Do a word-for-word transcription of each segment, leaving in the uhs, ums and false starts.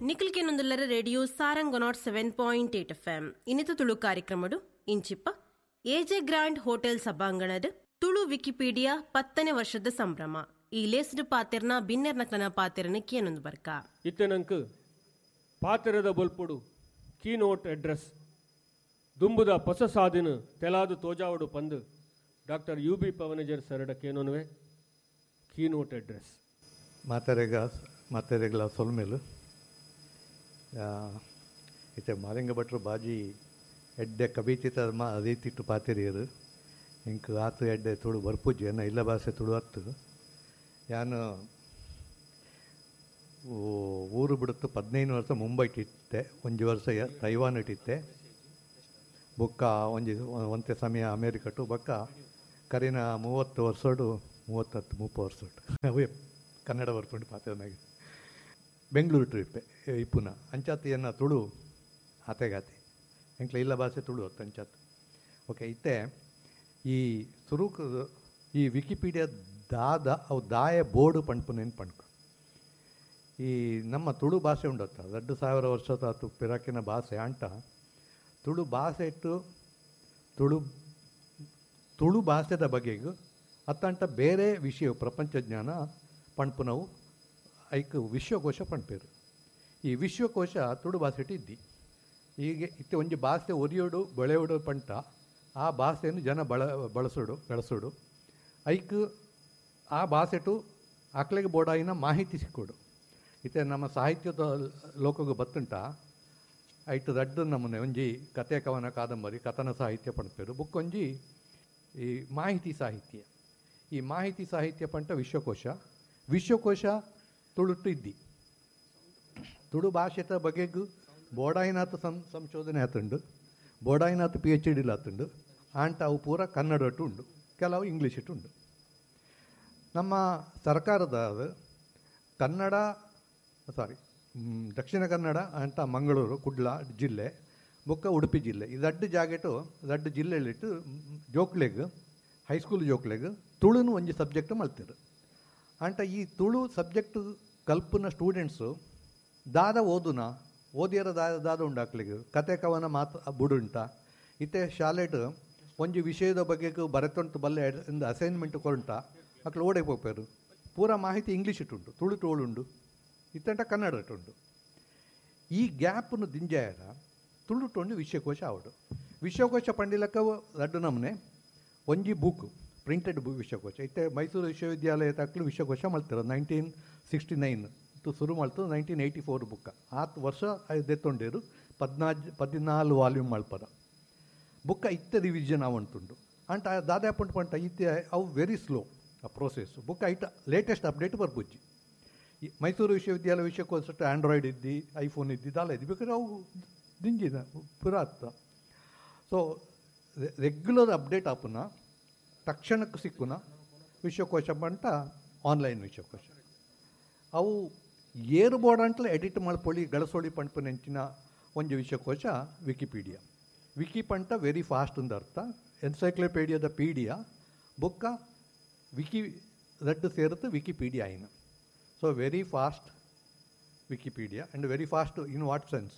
ನಿಖಿಲ್ ಕೆನೊಂದುಲ್ಲರ radio Sarang nought seven point eight F M ಇನ್ನಿತ ತುಳು ಕಾರ್ಯಕ್ರಮಡು ಇಂಚಿಪ್ಪ ಎಜೆ ಗ್ರ್ಯಾಂಡ್ ಹೋಟೆಲ್ ಸಭಾಂಗಣದ ತುಳು ವಿಕಿಪೀಡಿಯಾ ಪತ್ತನೇ ವರ್ಷದ ಸಂಭ್ರಮ ಈ ಲೇಸ್ಡ್ ಪಾತೆರ್ನ ಬಿನ್ನೆರ್ನಕ್ಲನ ಪಾತೆರನ ಕೇನೊಂದು ಬರ್ಕ. ಇತ್ತೆ ನಂಕ್ ಪಾತೆರದ ಬೊಲ್ಪುಡು ಕೀನೋಟ್ ಅಡ್ರೆಸ್ ದುಂಬುದ ಪೊಸ ಸಾದಿನ ತೆಲಾದು ತೋಜಾವಡು ಪಂದು ಡಾಕ್ಟರ್ you B ಪವನಜರ್ ಸರಡ ಕೇನೋನುವೆ ಕೀನೋಟ್ ಅಡ್ರೆಸ್. ಮಾತೆರೆಗ ಮಾತೆರೆಗ್ಲ ಸೊಲ್ಮೆಲು. ಇತ್ತೆ ಮಾಲಿಂಗ ಭಟ್ರು ಬಾಜಿ ಎಡ್ಡೆ ಕವಿತಿತ ಮಾ ರೀತಿಟ್ಟು ಪಾತೆರಿಯರು. ಇಂಕ್ ಆತು ಎಡ್ಡೆ ತುಳು ಬರ್ಪುಜಿ ಎನ್ನ ಇಲ್ಲ ಭಾಷೆ ತುಳು ಅತ್ತು. ಯಾನು ಊರು ಬಿಡುತ್ತು ಪದಿನೈದು ವರ್ಷ ಮುಂಬೈಟ್ ಇತ್ತೆ, ಒಂಜಿ ವರ್ಷ ತೈವಾನ್ ಇಟ್ಟಿತ್ತೆ, ಬೊಕ್ಕ ಒಂಜಿ ಒಂತೆ ಸಮಯ ಅಮೇರಿಕಟು, ಬೊಕ್ಕ ಕರಿನ ಮೂವತ್ತು ವರ್ಷಡು ಮೂವತ್ತತ್ತು ಮುಪ್ಪ ವರ್ಷಡು ಅವೇ ಕನ್ನಡ ಬರ್ಪುಂಡು ಪಾತೆರ್ನಾಗ ಬೆಂಗಳೂರು ಟ್ರಿಪ್ಪೆ ಇಪ್ಪುನ ಅಂಚಾತ್ ಎನ್ನ ತುಳು ಆತೆಗಾತೆ ಎಂಕ್ಲ ಇಲ್ಲ ಭಾಷೆ ತುಳು ಅತ್ತು ಅಂಚಾತ್. ಓಕೆ, ಇತ್ತೆ ಈ ಸುರುಕು ಈ ವಿಕಿಪೀಡಿಯಾ ದಾದ ಅವು ದಾಯ ಬೋರ್ಡು ಪಣ್ಪುನೇನು ಪಣ್ಕ ಈ ನಮ್ಮ ತುಳು ಭಾಷೆ ಉಂಡತ್ತ ಎರಡು ಸಾವಿರ ವರ್ಷದ ಆತು ಪಿರಾಕಿನ ಭಾಷೆ ಅಂಟ ತುಳು ಭಾಷೆ ಇಟ್ಟು ತುಳು ತುಳು ಭಾಷೆದ ಬಗೆಗೂ ಅತ್ತಂಟ ಬೇರೆ ವಿಷಯ ಪ್ರಪಂಚ ಜ್ಞಾನ ಪಣ್ಪುನವು ಐಕ್ ವಿಶ್ವಕೋಶ ಪಣ್ಪೇರು. ಈ ವಿಶ್ವಕೋಶ ತುಳು ಭಾಷೆ ಇದ್ದಿ ಹೀಗೆ ಇತ್ತೆ ಒಂಜಿ ಭಾಷೆ ಒರಿಯೋಡು ಬೆಳೆಯೋಡು ಪಂಟ ಆ ಭಾಷೆಯನ್ನು ಜನ ಬಳ ಬಳಸೋಡು ಬೆಳೆಸೋಡು ಐಕ್ ಆ ಭಾಷೆಟು ಆಕ್ಲೆಗೆ ಬೋಡಾಯಿನ ಮಾಹಿತಿ ಸಿಕ್ಕೋಡು. ಇತ್ತೆ ನಮ್ಮ ಸಾಹಿತ್ಯದ ಲೋಕಗೆ ಬತ್ತುಂಟ ಐಟ್ ದಡ್ಡು ನಮೂನೆ ಒಂಜಿ ಕತೆ ಕವನ ಕಾದಂಬರಿ ಕಥನ ಸಾಹಿತ್ಯ ಪಣ್ಪೇರು, ಬುಕ್ಕೊಂಜಿ ಈ ಮಾಹಿತಿ ಸಾಹಿತ್ಯ. ಈ ಮಾಹಿತಿ ಸಾಹಿತ್ಯ ಪಂಟ ವಿಶ್ವಕೋಶ ವಿಶ್ವಕೋಶ ತುಳುಟ್ಟು ಇದ್ದಿ ತುಳು ಭಾಷೆತ ಬಗೆಗೂ ಬೋಡಾಯಿನಾಥ ಸಂ ಸಂಶೋಧನೆ ಆತುಂಡು, ಬೋಡಾಯಿನಾಥ ಪಿ ಎಚ್ ಡಿಲ್ ಆತುಂಡು, ಆಂಟ ಅವು ಪೂರ ಕನ್ನಡಟ್ಟು ಉಂಡು, ಕೆಲವು ಇಂಗ್ಲೀಷ್ ಇಟ್ಟು ಉಂಡು. ನಮ್ಮ ಸರ್ಕಾರದ ಕನ್ನಡ ಸಾರಿ ದಕ್ಷಿಣ ಕನ್ನಡ ಅಂತ ಮಂಗಳೂರು ಕುಡ್ಲ ಜಿಲ್ಲೆ ಬೊಕ್ಕ ಉಡುಪಿ ಜಿಲ್ಲೆ ಈ ದಡ್ಡ ಜಾಗೆಟು ದಡ್ಡ ಜಿಲ್ಲೆಲಿಟ್ಟು ಜೋಕ್ಲೆಗ್ ಹೈಸ್ಕೂಲ್ ಜೋಕ್ಲೆಗ್ ತುಳುನು ಒಂಜಿ ಸಬ್ಜೆಕ್ಟ್ ಮಲ್ತಿರು. ಅಂಟ ಈ ತುಳು ಸಬ್ಜೆಕ್ಟ್ ಕಲ್ಪುನ ಸ್ಟೂಡೆಂಟ್ಸು ದಾದ ಓದುನ ಓದಿಯರ ದಾದ ದಾದ ಉಂಡಾಕ್ಲಿಗೆ ಕತೆ ಕವನ ಮಾತು ಬುಡುಂಟ. ಇತ್ತೆ ಶಾಲೆಟ್ ಒಂಜಿ ವಿಷಯದ ಬಗ್ಗೆ ಬರೆತೊಂಟು ಬಲ್ಲೆ ಒಂದು ಅಸೈನ್ಮೆಂಟ್ ಕೊರುಂಟ ಅಕ್ಲು ಓಡೆ ಪೋಪೇರು ಪೂರ ಮಾಹಿತಿ ಇಂಗ್ಲೀಷ್ ಇಟ್ಟುಂಟು ತುಳು ಟೋಳುಂಡು ಇತ್ತಂಟ ಕನ್ನಡ ಇಟ್ಟುಂಡು. ಈ ಗ್ಯಾಪ್ನು ದಿಂಜಾಯರ ತುಳು ಟೊಂಡು ವಿಶ್ವಕೋಶ ಆವಡು. ವಿಶ್ವಕೋಶ ಪಂಡಿಲಕ್ಕ ರಡ್ಡು ನಮೂನೆ ಒಂಜಿ ಬುಕ್ ಪ್ರಿಂಟೆಡ್ ಬುಕ್ ವಿಶ್ವಕೋಶ. ಇತ್ತೆ ಮೈಸೂರು ವಿಶ್ವವಿದ್ಯಾಲಯ ತಕ್ಕಲು ವಿಶ್ವಕೋಶ ಮಲ್ತಿರೋ ನೈನ್ಟೀನ್ ಸಿಕ್ಸ್ಟಿ ನೈನ್ ಶುರು ಮಾಡ್ತು ನೈನ್ಟೀನ್ ಏಯ್ಟಿ ಫೋರ್ ಬುಕ್ಕ ಆತು ವರ್ಷ ದೆತ್ತೊಂಡೇರು ಪದ್ನಾಜ್ ಪದಿನಾಲು ವಾಲ್ಯೂಮ್ ಮಲ್ಪದ ಬುಕ್ಕ ಇತ್ತೆ ರಿವಿಷನ್ ಆವಂತುಂಡು. ಅಂಟ ದಾದಾಪುಂಟು ಪಂಟ ಇತ್ತೆ ಅವು ವೆರಿ ಸ್ಲೋ ಆ ಪ್ರೋಸೆಸ್ ಬುಕ್ಕ ಐಟ ಲೇಟೆಸ್ಟ್ ಅಪ್ಡೇಟ್ ಬರ್ಬುಜ್ಜಿ. ಈ ಮೈಸೂರು ವಿಶ್ವವಿದ್ಯಾಲಯ ವಿಶ್ವಕೋಶ ಆ್ಯಂಡ್ರಾಯ್ಡ್ ಇದ್ದಿ ಐಫೋನ್ ಇದ್ದಿ ದಾಲ ಇದ್ದಿ ಬೇಕಾದ್ರೆ ಅವು ದಿಂಜಿನ ಪುರ ಆತ್ತ. ಸೊ ರೆಗ್ಯುಲರ್ ಅಪ್ಡೇಟ್ ಆಪುನ ತಕ್ಷಣಕ್ಕೆ ಸಿಕ್ಕುನ ವಿಶ್ವಕೋಶ ಪಂಟ ಆನ್ಲೈನ್ ವಿಶ್ವಕೋಶ ಅವು ಏರು ಬೋರ್ಡ್ ಅಂಟಲೇ ಎಡಿಟ್ ಮಲ್ಪೊಳಿ ಗಳಸೋಳಿ ಪಂಪುನೆಂಚಿನ ಒಂಜಿ ವಿಶ್ವಕೋಶ ವಿಕಿಪೀಡಿಯಾ. ವಿಕಿ ಪಂಟ ವೆರಿ ಫಾಸ್ಟ್ ಅಂದ ಅರ್ಥ, ಎನ್ಸೈಕ್ಲೋಪೀಡಿಯಾದ ಪೀಡಿಯಾ ಬುಕ್ಕ ವಿಕಿ ರಡ್ಡು ಸೇರುತ್ತೆ ವಿಕಿಪೀಡಿಯಾ ಐನ. So very fast Wikipedia and very fast in what sense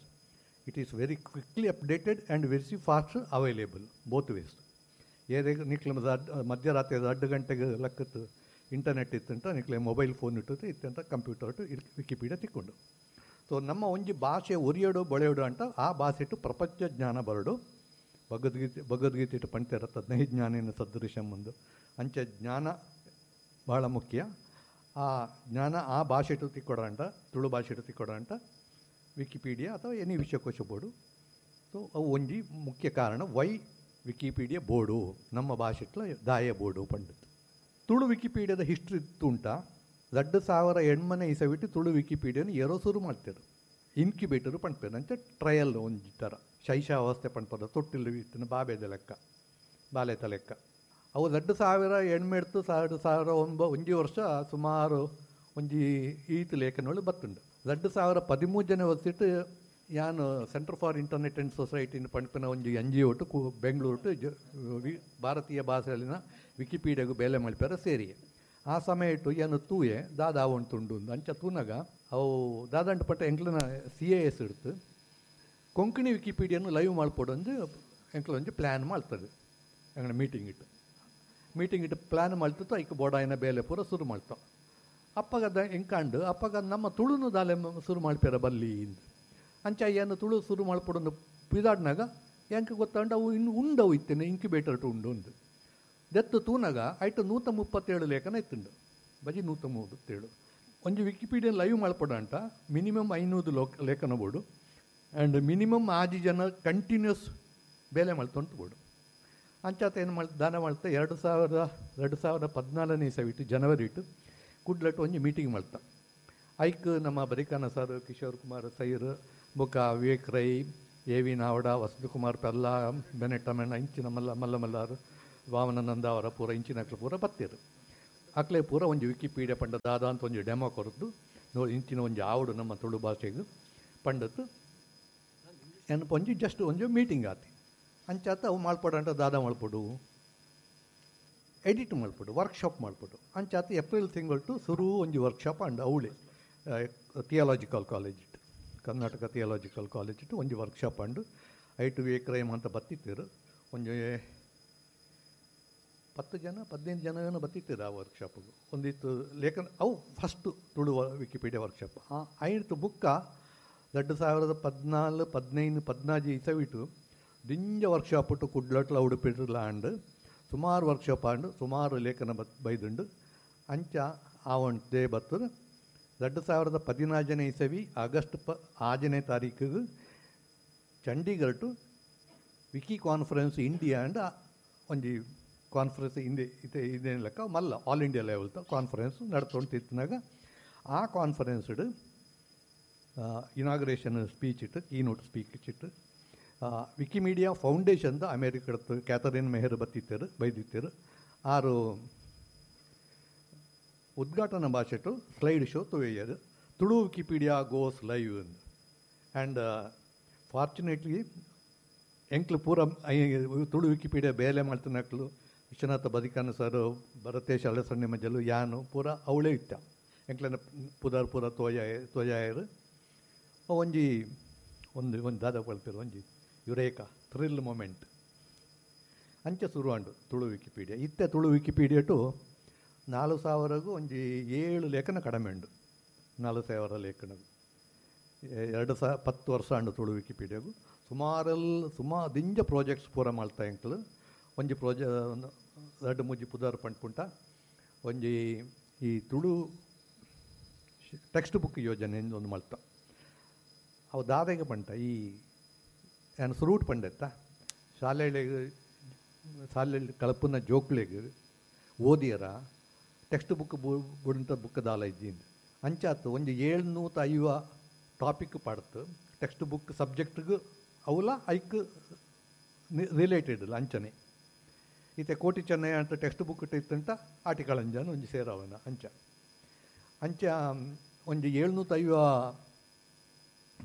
it is very quickly updated and very fast available both ways. ಏರೇ ನಿಕ್ಲ ಮಧ್ಯರಾತ್ರಿ ಎರಡು ಗಂಟೆಗೆ ಲಕ್ಕತ್ತು ಇಂಟರ್ನೆಟ್ ಇತ್ತಂತ ನಿಕ್ಲೆ ಮೊಬೈಲ್ ಫೋನ್ ಇಟ್ಟುತ್ತೆ ಇತ್ತಂತ ಕಂಪ್ಯೂಟರ್ ಇಟ್ಟು ವಿಕಿಪೀಡಿಯಾ ತಿಕ್ಕೊಂಡು. ಸೊ ನಮ್ಮ ಒಂಜಿ ಭಾಷೆ ಒರಿಯೋಡು ಬಳೆಯೋಡು ಅಂತ ಆ ಭಾಷೆ ಇಟ್ಟು ಪ್ರಪಂಚ ಜ್ಞಾನ ಬರಡು. ಭಗವದ್ಗೀತೆ ಭಗವದ್ಗೀತೆ ಇಟ್ಟು ಪಂಚರ ತದ್ನಹಿ ಜ್ಞಾನೇನ ಸದೃಶಂ ಒಂದು ಅಂಚೆ ಜ್ಞಾನ ಭಾಳ ಮುಖ್ಯ. ಆ ಜ್ಞಾನ ಆ ಭಾಷೆ ಇಟ್ಟು ತಿಕ್ಕೊಡ ಅಂತ ತುಳು ಭಾಷೆ ಇಟ್ಟು ತಿಕ್ಕೊಡ ಅಂತ ವಿಕಿಪೀಡಿಯಾ ಅಥವಾ ಎನಿ ವಿಶ್ವಕೋಶ ಬೋರ್ಡು. ಸೊ ಅವು ಒಂಜಿ ಮುಖ್ಯ ಕಾರಣ ವೈ ವಿಕಿಪೀಡಿಯಾ ಬೋರ್ಡು ನಮ್ಮ ಭಾಷೆಟ್ಲ ದಾಯ ಬೋರ್ಡು ಪಂಡಿತು. ತುಳು ವಿಕಿಪೀಡಿಯಾದ ಹಿಸ್ಟ್ರಿ ಉಂಟ ಎರಡು ಸಾವಿರ ಎಣ್ಮನೆ ಇಸವಿಟ್ಟು ತುಳು ವಿಕಿಪೀಡಿಯಾನ ಏರೋ ಶುರು ಮಾಡ್ತಾರೆ ಇನ್ಕ್ಯುಬೇಟರು ಪಂಡ್ಪೇರು ಅಂಚೆ ಟ್ರಯಲ್ ಒಂಜಿ ಥರ ಶೈಶಾವಸ್ಥೆ ಪಂಡ್ಪದ ತೊಟ್ಟಿಲು ಇತ್ತಿನ ಬಾಬೆದ ಲೆಕ್ಕ ಬಾಲೆತ ಲೆಕ್ಕ. ಅವು ಎರಡು ಸಾವಿರ ಎಣ್ಮೆಡ್ತು ಎರಡು ಸಾವಿರ ಒಂಬ ಒಂಜಿ ವರ್ಷ ಸುಮಾರು ಒಂಜಿ ಈತ್ ಲೇಖನಗಳು ಬತ್ತುಂಡು. ಎರಡು ಸಾವಿರ ಪದಿಮೂರು ಜನ ವರ್ಷಿಟ್ಟು ಯಾನು ಸೆಂಟರ್ ಫಾರ್ ಇಂಟರ್ನೆಟ್ ಆ್ಯಂಡ್ ಸೊಸೈಟಿನ ಪಂಡ್ಪಿನ ಒಂಜಿ ಎನ್ ಜಿ ಒಟ್ಟು ಕು ಬೆಂಗಳೂರು ಟು ಜ ವಿ ಭಾರತೀಯ ಭಾಷೆಯಲ್ಲಿನ ವಿಕಿಪೀಡಿಯಾಗೂ ಬೇಲೆ ಮಲ್ಪೆರ ಸೇರಿ ಆ ಸಮಯ ಇಟ್ಟು ಏನು ತೂಯೆ ದಾದಾ ಉಂಟುಂಡು ಅಂಚ ತೂನಾಗ ಅವು ದಾದಂಟ ಪಟ್ಟ ಎಂಕ್ಲನ ಸಿ ಎ ಎಸ್ ಇಡ್ತು ಕೊಂಕಣಿ ವಿಕಿಪೀಡಿಯನ್ನು ಲೈವ್ ಮಾಡ್ಕೊಡೊಂದು ಎಂಕ್ಲ ಒಂಜಿ ಪ್ಲ್ಯಾನ್ ಮಾಡ್ತದೆ. ಎಂಗಡ ಮೀಟಿಂಗ್ ಇಟ್ಟು ಮೀಟಿಂಗ್ ಇಟ್ಟು ಪ್ಲ್ಯಾನ್ ಮಾಡ್ತಿತ್ತು. ಐಕ್ ಬೋಡಾಯಿನ ಬೇಲೆ ಪೂರ ಶುರು ಮಾಡ್ತಾವ. ಅಪ್ಪಗದ ಎಂಕಾಂಡು ಅಪ್ಪಗ ನಮ್ಮ ತುಳುನು ದಾಲೆ ಶುರು ಮಾಡ್ಪೇರ ಬಲ್ಲಿ ಅಂಚ ಏನು ತುಳು ಶುರು ಮಾಡ್ಪೊಡೊಂದು ಪಿದಾಡ್ನಾಗ ಎಂಕ ಗೊತ್ತಾಂಡು ಅವು ಇನ್ನು ಉಂಡವು ಇತ್ತೇನೆ ಇಂಕ್ಯುಬೇಟರ್ ಟು ಉಂಡು ಉಂದು ದೆತ್ತು ತೂನಾಗ ಐಟು ನೂತ ಮುಪ್ಪತ್ತೇಳು ಲೇಖನ ಇತ್ತುಂಡು ಬಜಿ ನೂತ ಮೂವತ್ತೇಳು. ಒಂಜಿ ವಿಕಿಪೀಡಿಯಾ ಲೈವ್ ಮಾಡ್ಪೊಡ ಅಂತ ಮಿನಿಮಮ್ ಐನೂರು ಲೋಕ ಲೇಖನ ಬೋಡು ಆ್ಯಂಡ್ ಮಿನಿಮಮ್ ಆಜಿ ಜನ ಕಂಟಿನ್ಯೂಸ್ ಬೇಲೆ ಮಾಡ್ತೊಂಟು ಬೋಡು. ಅಂಚಾತ ಏನು ಮಾಡ್ ದಾನ ಮಾಡ್ತಾ ಎರಡು ಸಾವಿರದ ಎರಡು ಸಾವಿರದ ಪದ್ನಾಲ್ಕನೇ ಇಸವಿಟ್ಟು ಜನವರಿ ಇಟ್ಟು ಕುಡ್ಲಟ್ಟು ಒಂಜಿ ಮೀಟಿಂಗ್ ಮಾಡ್ತಾ. ಐಕ್ ನಮ್ಮ ಬರಿಕಾನ ಸರ್, ಕಿಶೋರ್ ಕುಮಾರ್ ಸೈರ್, ಬೊಕ್ಕ ವಿವೇಕ್ ರೈ, ಎ ವಿ ನಾವಡ, ವಸಂತಕುಮಾರ್ ಪೆಲ್ಲ, ಬೆನೆಟ್ಟಮೆಣ್ಣ ಇಂಚಿನ ಮಲ್ಲ ಮಲ್ಲ ಮಲ್ಲಾರು, ವಾಮನಂದ ಅವರ ಪೂರ ಇಂಚಿನ ಪೂರ ಬತ್ತೀರು. ಅಕ್ಲೆ ಪೂರ ಒಂಜಿ ವಿಕಿಪೀಡಿಯಾ ಪಂಡ ದಾದ ಅಂತ ಒಂಜಿ ಡೆಮೋ ಕೊರದ್ದು ನೋ ಇಂಚಿನ ಒಂಜಿ ಆವಡು ನಮ್ಮ ತುಳು ಭಾಷೆಗೆ ಪಂಡತ್ತು ಏನಪ್ಪ ಒಂಜಿ ಜಸ್ಟ್ ಒಂಜಿ ಮೀಟಿಂಗ್ ಆತಿ. ಅಂಚಾತ ಅವು ಮಾಡ್ಪಡ ಅಂತ ದಾದ ಮಾಡ್ಪಡು, ಎಡಿಟ್ ಮಾಡ್ಪಡು, ವರ್ಕ್ಶಾಪ್ ಮಾಡ್ಪಡು. ಅಂಚಾತ ಏಪ್ರಿಲ್ ತಿಂಗಳು ಶುರು ಒಂಜಿ ವರ್ಕ್ಶಾಪ್ ಅಂಡ್ ಅವಳಿ ಥಿಯಾಲಜಿಕಲ್ ಕಾಲೇಜ್ ಇಟ್ಟು ಕರ್ನಾಟಕ ಥಿಯಾಲಜಿಕಲ್ ಕಾಲೇಜ್ ಇಟ್ಟು ಒಂಜಿ ವರ್ಕ್ಶಾಪ್ ಅಂಡು ಐಟು ವಿವೇಕ್ ರೈಮ್ ಅಂತ ಬತ್ತಿತ್ತಿರು. ಒಂಜಿ ಪತ್ತು ಜನ ಪದಿನೈದು ಜನ ಏನೋ ಬತ್ತಿತ್ತಿರು ಆ ವರ್ಕ್ಶಾಪಿಗೆ. ಒಂದಿತ್ತು ಲೇಖನ ಅವು ಫಸ್ಟು ತುಳು ವಿಕಿಪೀಡಿಯಾ ವರ್ಕ್ಶಾಪ್. ಆ ಐದು ಬುಕ್ಕ ಎರಡು ಸಾವಿರದ ಪದ್ನಾಲ್ಕು ಪದಿನೈದು ಪದ್ನಾಜಿ ಇಸವಿಟ್ಟು ದಿಂಜ ವರ್ಕ್ಶಾಪ್ ಇಟ್ಟು ಕುಡ್ಲಟ್ಲ ಉಡುಪಿಟ್ಲ ಅಂಡು ಸುಮಾರು ವರ್ಕ್ಶಾಪ್ ಆಂಡು ಸುಮಾರು ಲೇಖನ ಬತ್ ಬೈದುಂಡು. ಅಂಚ ಆವಂಟೇ ಬರ್ತದೆ ಎರಡು ಸಾವಿರದ ಪದಿನಾಜನೇ ಇಸವಿ ಆಗಸ್ಟ್ ಪ ಆಜನೇ ತಾರೀಕಿಗೆ Chandigarh to wiki conference India and ಒಂಜಿ ಕಾನ್ಫರೆನ್ಸ್ ಹಿಂದೆ ಇದೆ ಇದೇನು ಲೆಕ್ಕ ಮಲ್ಲ ಆಲ್ ಇಂಡಿಯಾ ಲೆವೆಲ್ ಕಾನ್ಫರೆನ್ಸ್ ನಡ್ತೊಂತಿತ್ತಿನಾಗ ಆ ಕಾನ್ಫರೆನ್ಸ್ಡ್ ಇನಾಗ್ರೇಷನ್ ಸ್ಪೀಚ್ ಇಟ್ಟು ಕೀನೋಟ್ ಸ್ಪೀಚ್ ಇಟ್ಟು ವಿಕಿಮೀಡಿಯಾ ಫೌಂಡೇಶನ್ದ ಅಮೇರಿಕದ ಕ್ಯಾಥರಿನ್ ಮೆಹರ್ ಬತ್ತಿತ್ತರು ಬೈದಿತ್ತರು. ಆರು ಉದ್ಘಾಟನಾ ಭಾಷೆಟು ಸ್ಲೈಡ್ ಶೋ ತುವೆಯರು ತುಳು ವಿಕಿಪೀಡಿಯಾ ಗೋಸ್ ಲೈವ್ ಅಂದ್. ಆ್ಯಂಡ್ ಫಾರ್ಚುನೇಟ್ಲಿ ಎಂಕ್ಲು ಪೂರ ತುಳು ವಿಕಿಪೀಡಿಯಾ ಬೇಲೆ ಮಾಡ್ತಾನಕ್ಲು ವಿಶ್ವನಾಥ ಬದಿಕಾನ ಸರ್, ಭರತೇಶ್ ಅಳಸಣ್ಣೆ ಮಜಲು, ಯಾನು ಪೂರ ಅವಳೇ ಇತ್ತ ಎಂಕ್ಲನ ಪುದಾರ್ ಪೂರ ತೋಯ ತೋಜಾಯರು. ಒಂಜಿ ಒಂದು ಒಂದು ದಾದ ಪಳ್ಪಿರು ಒಂಜಿ ಯುರೇಕಾ ಥ್ರಿಲ್ ಮೊಮೆಂಟ್ ಅಂಚೆ ಶುರುವಾಂಡು ತುಳು ವಿಕಿಪೀಡಿಯಾ. ಇತ್ತೆ ತುಳು ವಿಕಿಪೀಡಿಯಾ ಟು ನಾಲ್ಕು ಸಾವಿರಗೂ ಒಂಜಿ ಏಳು ಲೇಖನ ಕಡಿಮೆ ಉಂಡು. ನಾಲ್ಕು ಸಾವಿರ ಲೇಖನ ಎರಡು ಸಹ ಪತ್ತು ವರ್ಷ ಅಂಡು ತುಳು ವಿಕಿಪೀಡಿಯಾಗು ಸುಮಾರಲ್ಲಿ ಸುಮಾ ದಿಂಜ ಪ್ರಾಜೆಕ್ಟ್ಸ್ ಪೂರ ಮಾಡ್ತಾ ಎಂಕ್ಲು. ಒಂಜಿ ಪ್ರಾಜೆ ಎರಡು ಮೂಜಿ ಪುದಾರ್ ಪಂಡ್ಪುಂಟ ಒಂಜಿ ಈ ತುಳು ಟೆಕ್ಸ್ಟ್ ಬುಕ್ ಯೋಜನೆ ಒಂದು ಮಲ್ತ. ಅವು ದಾದೆಗೆ ಪಂಟ ಈ ಏನು ಸುರೂಟ್ ಪಂಡೆತ್ತ ಶಾಲೆಗಳಿಗೆ ಶಾಲೆಯಲ್ಲಿ ಕಳಪುನ ಜೋಕ್ಲೆಗ್ ಓದಿಯರ ಟೆಕ್ಸ್ಟ್ ಬುಕ್ ಬುಡಂತ ಬುಕ್ ದಾಲ ಇದ್ದೀನಿ ಅಂಚಾತು ಒಂಜಿ ಏಳ್ನೂತ ಐವ ಟಾಪಿಕ್ ಪಾಡ್ತು ಟೆಕ್ಸ್ಟ್ ಬುಕ್ ಸಬ್ಜೆಕ್ಟ್ಗೆ ಅವಲ ಐಕ್ ರಿಲೇಟೆಡ್ ಅಂಚನೆ ಈತೆ ಕೋಟಿ ಚೆನ್ನಯ್ಯ ಅಂತ ಟೆಕ್ಸ್ಟ್ ಬುಕ್ ಇತ್ತಂಟ ಆಟಿಕಲ್ ಅಂಜಾನ ಒಂಜಿ ಸೇರವನ ಅಂಚ ಅಂಚ ಒಂಜಿ ಏಳ್ನೂತ ಐವ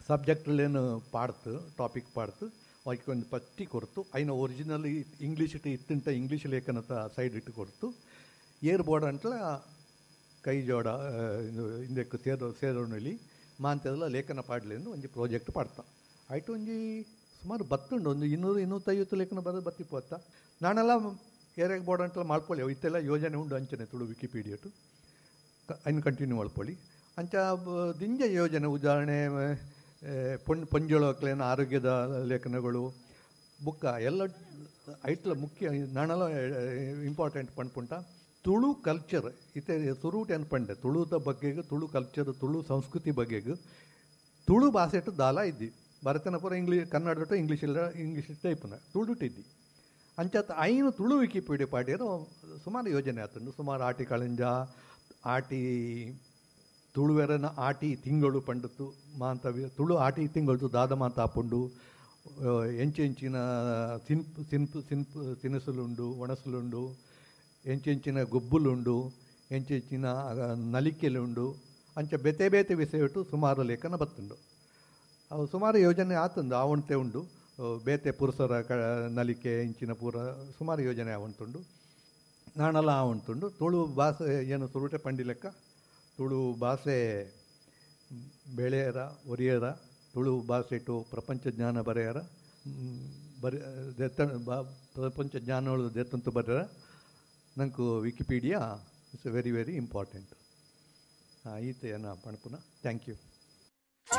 ಸಬ್ಜೆಕ್ಟ್ಲೇನು ಪಾಡ್ತು ಟಾಪಿಕ್ ಪಾಡ್ತು ಅವಕ್ಕೆ ಒಂದು ಪಟ್ಟಿ ಕೊಡ್ತು ಐನ ಒರಿಜಿನಲ್ ಇಂಗ್ಲೀಷ್ ಇಟ್ಟು ಇತ್ತಂಟ ಇಂಗ್ಲೀಷ್ ಲೇಖನದ ಸೈಡ್ ಇಟ್ಟು ಕೊಡ್ತು ಏರ್ ಬೋರ್ಡ್ ಅಂಟ್ಲ ಕೈ ಜೋಡ ಹಿಂದಕ್ಕೆ ಸೇರೋ ಸೇರೋಣಲಿ ಮಾಂತೆಲ್ಲ ಲೇಖನ ಪಾಡಲಿ ಎಂದು ಒಂಜಿ ಪ್ರಾಜೆಕ್ಟ್ ಪಾಡ್ತಾ ಆಯ್ತು ಒಂಜಿ ಸುಮಾರು ಬತ್ತುಂಡು ಒಂದು ಇನ್ನೂರು ಇನ್ನೂತ್ತೈವತ್ತು ಲೇಖನ ಬರೋದು ಬತ್ತಿಪ್ಪತ್ತ ನಾನೆಲ್ಲ ಏರಿಯಾಗೆ ಬೋರ್ಡ್ ಅಂತೆಲ್ಲ ಮಾಡ್ಕೊಳ್ಳಿ ಇತ್ತೆಲ್ಲ ಯೋಜನೆ ಉಂಡು ಅಂಚನೆ ತುಳು ವಿಕಿಪೀಡಿಯಟು ಐನು ಕಂಟಿನ್ಯೂ ಮಾಡ್ಕೊಳ್ಳಿ ಅಂಚ ದಿಂಜ ಯೋಜನೆ ಉದಾಹರಣೆ ಪೊಣ್ ಪೊಂಜೊಳಕ್ಲೇನ ಆರೋಗ್ಯದ ಲೇಖನಗಳು ಬುಕ್ಕ ಎಲ್ಲ ಐಟ್ಲ ಮುಖ್ಯ ನಾನೆಲ್ಲ ಇಂಪಾರ್ಟೆಂಟ್ ಪಂಡ್ಪುಂಟ ತುಳು ಕಲ್ಚರ್ ಇತ್ತೆ ಸುರೂಟ್ ಏನು ಪಂಡೆ ತುಳುದ ಬಗ್ಗೆಗೆ ತುಳು ಕಲ್ಚರ್ ತುಳು ಸಂಸ್ಕೃತಿ ಬಗ್ಗೆಗೆ ತುಳು ಭಾಷೆಟು ದಾಲ ಇದ್ದಿ ಭರತನ ಪೂರ ಇಂಗ್ಲೀಷ್ ಕನ್ನಡ ಇಂಗ್ಲೀಷ್ ಇಲ್ಲ ಇಂಗ್ಲೀಷ್ ಟೈಪ್ನ ತುಳುಟು ಇದ್ದಿ ಅಂಚಾತ ಐನು ತುಳು ವಿಕಿಪೀಡಿಯಾ ಪಾಡ್ಯರು ಸುಮಾರು ಯೋಜನೆ ಆತಂಡು ಸುಮಾರು ಆಟಿ ಕಳಂಜ ಆಟಿ ತುಳುವೆರನ ಆಟಿ ತಿಂಗಳು ಪಂಡತ್ತು ಮಾಂತ ತುಳು ಆಟಿ ತಿಂಗಳು ದಾದ ಮಾತ ಆಪುಂಡು ಎಂಚೆಂಚಿನ ತಿನ್ಪು ತಿನ್ಪು ತಿನ್ಪು ತಿನಿಸುಲುಂಡು ಒಣಸುಲುಂಡು ಎಂಚೆಂಚಿನ ಗೊಬ್ಬುಲುಂಡು ಎಂಚೆಂಚಿನ ನಲಿಕೆಲುಂಡು ಅಂಚ ಬೇತೆ ಬೇತೆ ವಿಷಯಟ್ಟು ಸುಮಾರು ಲೇಖನ ಬತ್ತುಂಡು ಅವು ಸುಮಾರು ಯೋಜನೆ ಆತಂದು ಆವಣತೆ ಉಂಡು ಬೇತೆ ಪುರುಷರ ಕ ನಲಿಕೆ ಇಂಚಿನ ಪೂರ ಸುಮಾರು ಯೋಜನೆ ಆವಂತುಂಡು ನಾನೆಲ್ಲ ಆವಂತುಂಡು ತುಳು ಭಾಷೆ ಏನು ಸುರುಟೆ ಪಂಡಿ ಲೆಕ್ಕ ತುಳು ಭಾಷೆ ಬೆಳೆಯರ ಒರಿಯರ ತುಳು ಭಾಷೆಟು ಪ್ರಪಂಚ ಜ್ಞಾನ ಬರೆಯರ ಬರೆ ದೆತ್ತ ಬಾ ಪ್ರಪಂಚ ಜ್ಞಾನಗಳು ದೆತ್ತಂತು ಬರೆಯರ ನಂಕು Wikipedia it's very very important. ಈತ ಏನ ಪಣಪುನ. Thank you.